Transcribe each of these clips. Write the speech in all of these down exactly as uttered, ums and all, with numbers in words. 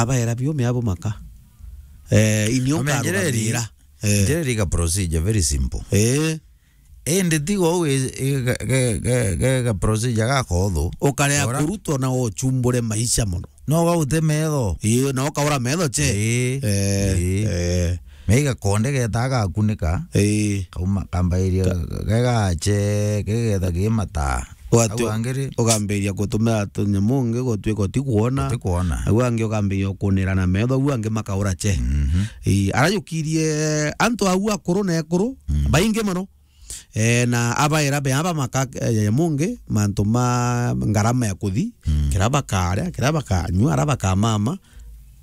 abaera biu miabo maka. Eh, inio nkarugamira. Eh. Njira iri ga procedure very simple. Eh. Indi tiga uu i-, i-, ga, ga, ga, ga, ga procedure gakothu. Ukarea kurutwo na uchumbure maisha mono. No gaute metho. Ii, na ukaura metho che. Ii. Eh, ii. Eh. Me igakonde geta gakunika. Ii. Kauma, kambairia ga, ga, gache, kigetha kimata. Au angi ri? Ukambiria gutumira tunyamu ungi gutwika utikuona. Utikuona. Au angi ukambiria ukunira na metho, au angi makaura che. Mhm. Ii, arajukirie antu au akuru na ekuru, mm, baingi mono. Eh, na abaera be aba maka, eh, ya mungi, mantu ma ngarama ya kuthi, mm, kira bakaria, kira bakanyua, ara bakamama,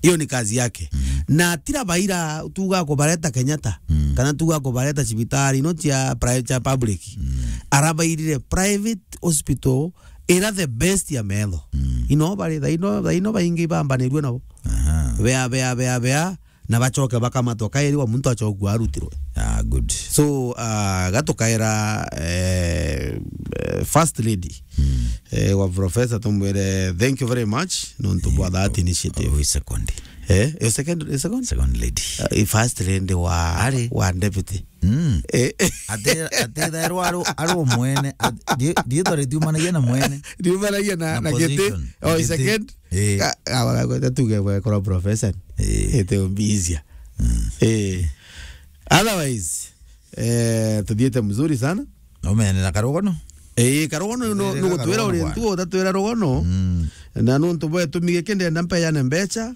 iyo ni kazi yake. Mm. Na tira baira tuga kubareta Kenyatta, mm, kana tuga kubareta cibitari ino cia pri-, cia public. Mm. Arabairire private hospital ira the best ya metho. Mm. Ino bari, thaino, thaino baingi bambanirue nabo. Aha. Bea, bea, bea, bea. Na bacoke bakamatwa kairi wa muntu acokua arutirwe. Ah, good. So, ah, gatukaira, eh, eh, First Lady, mm, eh, wa Professor, tumwire thank you very much nontu bwa that initiative. Eh, second. Eh, eh, second, eh, second? Second Lady. Ah, eh, First Lady wa, ari, wa Deputy. Mm. Eh. Ati, ati thairwa ari, ari o mwene, at-, ri-, riitwa ritiumanagia na mwene. Riumanagia na, na, na giti. Position. Oh, giti. Second. Eh. Ka-, ka-, ka-, ka-, tuge bwekora professor. Eh. Ete umbizia. Mm. Eh. Otherwise, eh, tuthiete mzuri sana. Umeene na karugono? Eh, karugono no, nugutwira uri ntu utatwira rugono. Mm. Na nuntu bwetu migeke ndenda mpeyane mbecha.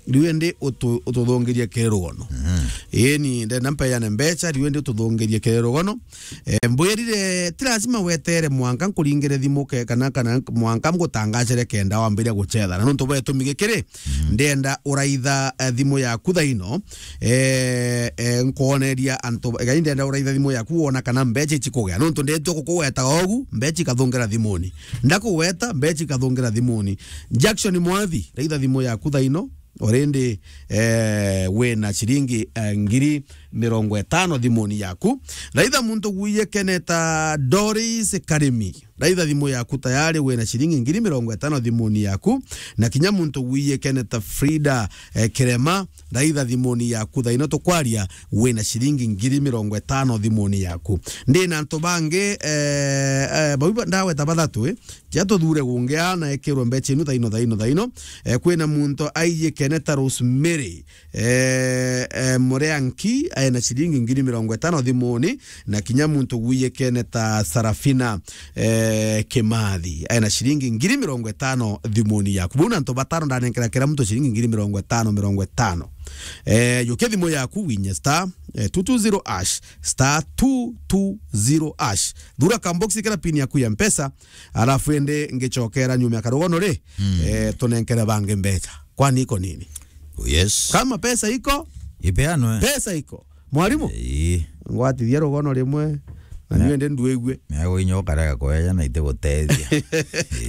Riu indi utu-, ututhungirie kiri rugono. Mhm. Ii, ni ndenda mpeyane mbecha, riu indi ututhungirie kiri rugono. Eh, mbwirire, ti lazima wetere mwanka nkuringire thimu ke-, kana, kana mwanka ngutangacire kenda wambiria gucetha. Na nuntu bwetumi gikiri, mhm, ndenda uraitha, eh, thimu yaku thaino, eh, eh, nkwoneria antu, gai ndenda uraitha thimu yaku wona kana mbecha icikugea. Nuntu ndetwe gukugweta ogu, mbecha ikathungira thimuni. Ndakugweta, mbecha ikathungira thimuni. Jackson Mwathi, raitha thimu yaku thaino, already, eh, wina ciringi, eh, ngiri mirongo itano thimuni yaku. Raitha muntu gwiye keneta Doris Karimi. Raitha thimu yaku tayari wina ciringi ngiri mirongo itano thimuni yaku. Na kinya muntu gwiye keneta Frida, eh, Kirema. Raitha thimuni yaku thaino tukwaria wina ciringi ngiri mirongo itano thimuni yaku. Ndina antu bangi, eh, eh, bau ba-, ndagweta bathatu, eh. Cia tuthure gungi ana ekirwe mbecha inu thaino, thaino, thaino. Eh, kwina muntu aiyikene ta Rosemary, eh, eh, Mureanki, aena ciringi ngiri mirongo itano thimuni, na kinya muntu gwiyikene ta Sarafina, eh, Kimathi, aena ciringi ngiri mirongo itano thimuni yaku. Bau na antu batano ndanenkera kira muntu ciringi ngiri mirongo itano, mirongo itano. Eh, yukia thimu yaku winye star, eh, two two zero hash, star two two zero hash. Thura kambox kira pin yaku ya Mpesa, Alafu indi ngicokera nyuma ya karugono ri, mm, eh, tunenkere bangi mbecha. Kwani iko nini? Oh, yes. Kama pesa iko, ipeanwe. Pesa iko. Mwalimu? Ii. Ngwatithia rugono rimwe, na niwe ndi ndwigue. Mea gwinya ukarega kweja na ite gutethia.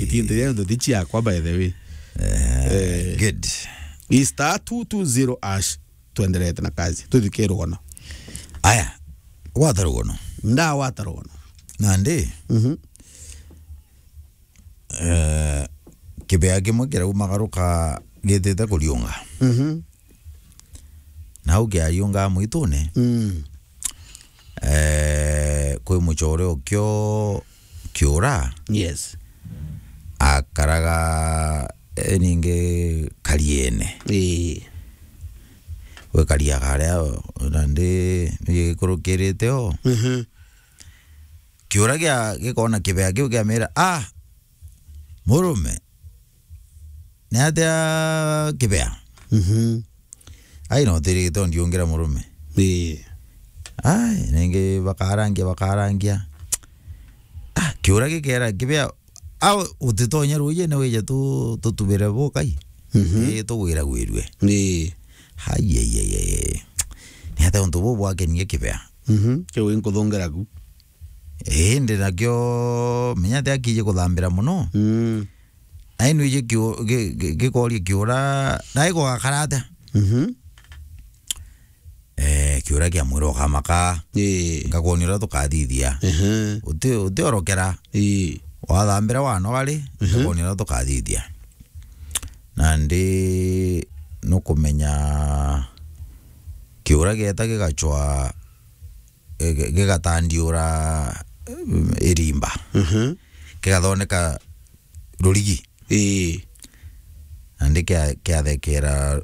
Itintu ria nduthi ciakwa, by the way. Eh, eh, good. I star two two zero hash. Twenderete na kazi. Tuthike rugono. Aya, gwata rugono. Ndawata rugono. Nandi? Mhm. Eh, kibea kimwe kiraumagaruka gitite kuriunga. Mhm. Nau kiariunga mwitune. Mm. Eh, kwi mucore ukio kiura. Yes. Akaraga, eh, ningi kariene. Ii. Gwikariaga aria, nandi nigikurukirite o. Mhm. Kiura gia, gikona kibea kiu kiamira, "Ah, murume, ni atia kibea?" Mhm. Ai, no tirite ndiungira murume. Ii. Ai, ningi bakarangia, bakarangia. Ah, kiura gikera kibea, au utitonya rujine wije tu-, tutubire bukai. Mhm. Ii, tugwiragwirue. Ii. Ai, ai, ai, ai, ai. Ni atia untu buu bwakenie kibea? Mhm. Kiu inkuthungira ku. Indi nakio, menya ati akiji kuthambira mono. Mm. Nai nwiji kiu-, gi-, gi-, gikoria kiura, nai gugakara atia? Mhm. Eh, kiura kia mwira ukamaka. Ii. Ngakwonia uria tukathithia. Ehe. Uti-, utiorokera. Ii. Wathambira wanoga ri, mhm, ngakwonia uria tukathithia. Nandi, kumenya kiura gieta gigacwa, gi-, gigatandiura, mm, irimba. Mhm. Kigathondeka rurigi. Ii. Nandi kia-, kiathekera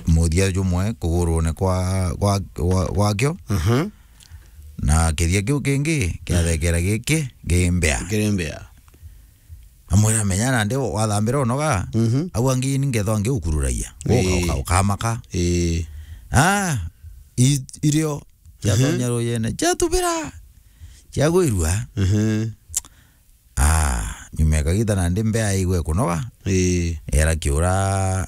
muthia jumwe kugurune kwa, kwa, kwa, gwakio. Mhm. Na kithia kiu kingi kiathekera giki gi mbea. Kiri mbea. Amwira, "Menya nandi wathambira unoga, mhm, au angi ni ngethwa ngiukururagia." Uka-, ii, uka-, ukamaka. Ii. Ah, i-, irio ciatonya, mhm, rujene, ciatubira, ciagwirua. Mhm. Ah, nyuma ya kagita nandi mbea igwe kunoga. Ii. Era kiura,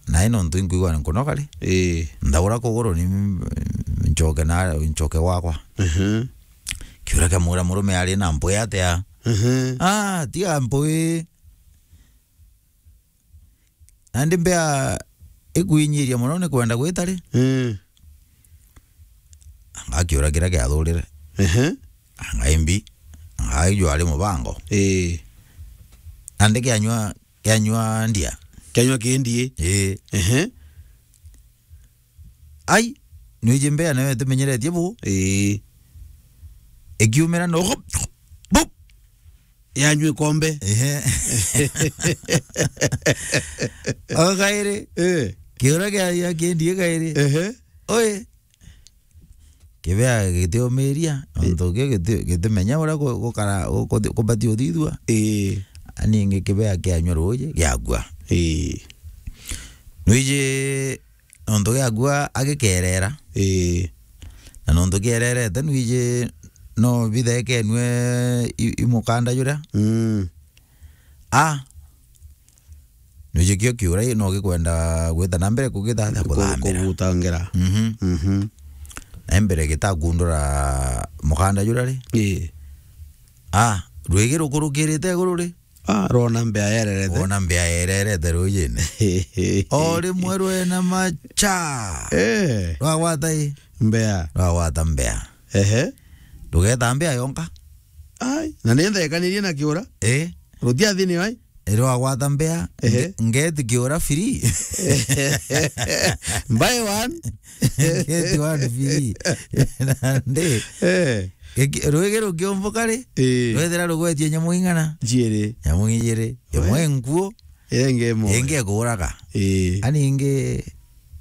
nae nontu inkwigua nkunoga ri. Ii. Ndaura kuguru ni nchoke na, nchoke gwakwa. Mhm. Kiura kiamwira, "Murume ari na mpwi atia?" Mhm. "Ah, tiga mpwi." Nandi mbea ikwinyiria mono ni kwenda gwita ri? Mm. Anga kiura kiria kiathurire. Ehe. Anga imbi. Anga ijwari mubango. Ii. Nandi kianywa, kianywa ndia. Kianywa kindi. Ii. Ehe. Ai, nwiji mbea nayo itimenyeretie bu. Ii. Ikiumira no, bu. Yanywa ikombe. Ehe. O kairi. Eh. Kiura kia, kia kindi kairi. Ehe. Oi. Kibea gitiumiria, ii, nontu kio giti-, gitimenya uria gu-, gukara, gu-, kuthi-, kubati uthithua. Ii. Aningi kibea kianywa ruuji, giakua. Ii. Nwiji nontu giakua agikerera. Ii. Na nontu kiererete, nwiji no bithekenue i-, i mukanda juria. Mm. A. Nwiji kio kiura i no gikwenda gwita na mbere kugitha na ku-, kuthambira. Kugutangira. Mhm. Mhm. Na mbere gitakundura mukanda juria ri? Ii. A, rwigi rukurukirite iguru ri? Ah, rwona mbea yererete. Rwona mbea yererete ruujine. O rimwe rwena macha. Eh. Rwagwata i? Mbea. Rwagwata mbea. Ehe. Rugeta mbea yonka. Ai, na ni nthekanirie na kiura? Eh. Rutia thini ai? Rwagwata mbea, ehe, nge-, ngeti kiura free. Buy one. Get one free. Nandi. Eh. Giki-, rwigi rukiumbuka ri? Ii. Rwethira rugwetie nyamu ing'ana? Ijiri. Nyamu ijiri. Imwe nkuo. Iria ingi imwe. Ingi ikuraga. Ii. Ani ingi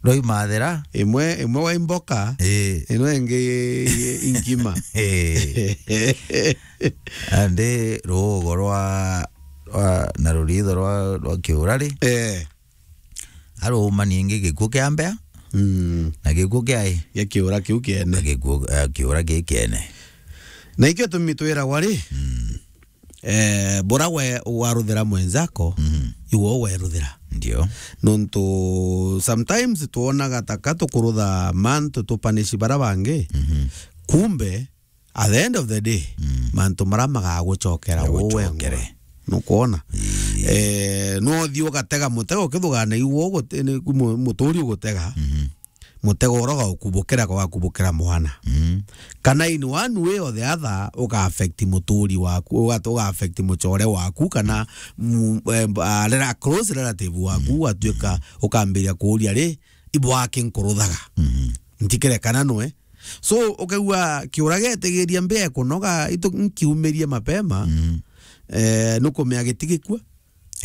rwaimathira. Imwe, imwe wa imboka. Ii. Ino ingi inkima. Ii. Andi ruugo rwa, rwa, na ruritho rwa, rwa kiura ri? Eh. Aruma ningi gikuo kia mbea, mm, na gikuo kia i? Gia kiura kiu kiene. Na gikuo, eh, kiura giki kiene. Na ikio tumi twiragwa ri, mm, eh, bura we waruthira mwenzako, mm, iwe weruthira. Ndio. Nontu sometimes twonaga taka tukurutha mantu tupanishi bara bangi, mhm, kumbe at the end of the day, mm, mantu mara magagucokera. Magagucokere. Uwe ngwa. Nukwona? Ii. Eh, no uthii ugatega mutego ukithugana iwe ugu-, ni ku-, mu-, muturi ugutega. Mhm. Mutego uroga ukubukira kwa kubukira mwana. Mhm. Kana in one way or the other, uga affect muturi waku, uga, uga affect mucore waku, kana mu-, eh, a rela-, close relative waku, mhm, ugatuika, mhm, ukambiria kuuria ri, ibo aki nkuruthaga. Mhm. Ntikire kana nwe. So, ukaigua kiura getigiria mbia kunoga, itu nkiumirie mapema, mm, eh, nukumea gitigikua.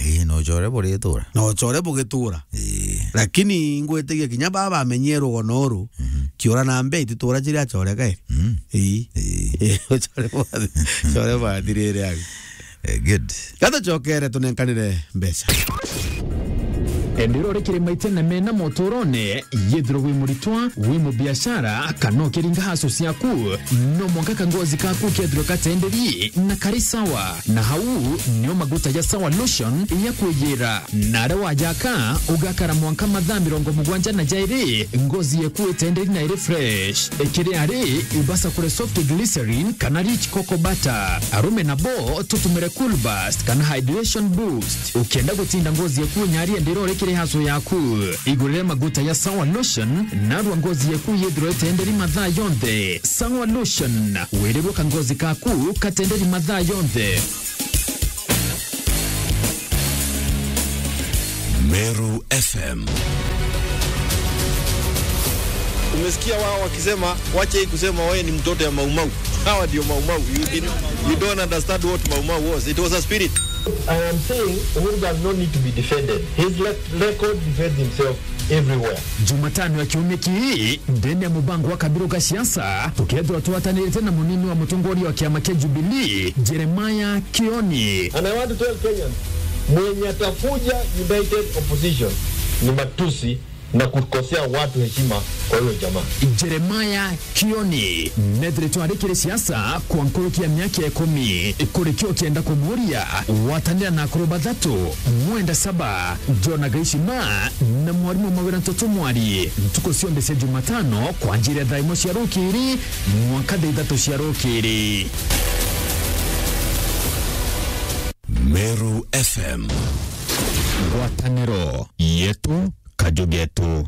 Ii, no ucore buritura. No ucore bugitura. Ii. Lakini ngwitigia kinya baba bamenyie rugono uru, mhm, kiura na mbia ititura ciria acore kairi. Mm. Ii. Ii. Ii, ucore bwa-, ucore bwathirire agi. Eh, good. Gatucokere tunenkanire mbeca. Enderea uri kirima itene mena motorone, yethirwa wi muritwa, wi mubiashara, kana ukiringa haso ciaku, no mwanka kangozi kaku kethirwe katenderi na kari sawa. Na hau nio maguta ja Sawa Lotion yakwiyira. Na aria wajaka, ugakara mwanka mathaa mirongo mugwanja na jairi, ngozi yeku itenderi na iri fresh. Ikiri ari, ibasa kure soft glycerin kana rich cocoa butter. Arume nabo tutumire Cool Burst kana hydration boost. Ukienda gutinda ngozi yeku nyari enderea uri kiri haso yaku, igurire maguta ya Sawa Lotion, narua ngozi yeku yethirwe itenderi mathaa yonthe. Sawa Lotion, wirirwe kangozi kaku katenderi mathaa yonthe. Meru F M. Umesikia wao wakisema, "Wacha hii kusema wewe ni mtoto ya Maumau." Hawa ndio Maumau. You didn't, you don't understand what Maumau was. It was a spirit. I am saying Uhuru does not need to be defended. His le-, record defends himself everywhere. Jumatano ya kiumia kii, ndene ya mubango wa Kabiru ga siasa, tukethirwa twatanirite na munini wa mutongoria wa kiama kia Jubilee, Jeremiah Kioni. And I want to tell Kenyans, mwenye atakuja united opposition ni matusi na kukosea watu heshima kwa huyo jamaa. Jeremiah Kioni nethiritwe ari kiri siasa kwa nkuruki ya miaka ikumi. Kuri kio kienda kumuria gwatanira na akuru bathatu, Mwenda Saba, John Gaishima na mwarimu Mawira Ntoto Mwari, ntuku cionthe cia Jumatano kwanjiria thaa imwe cia rukiri mwanka thaa ithatu cia rukiri. Meru F M. Ngwataniro yetu, kaju getu.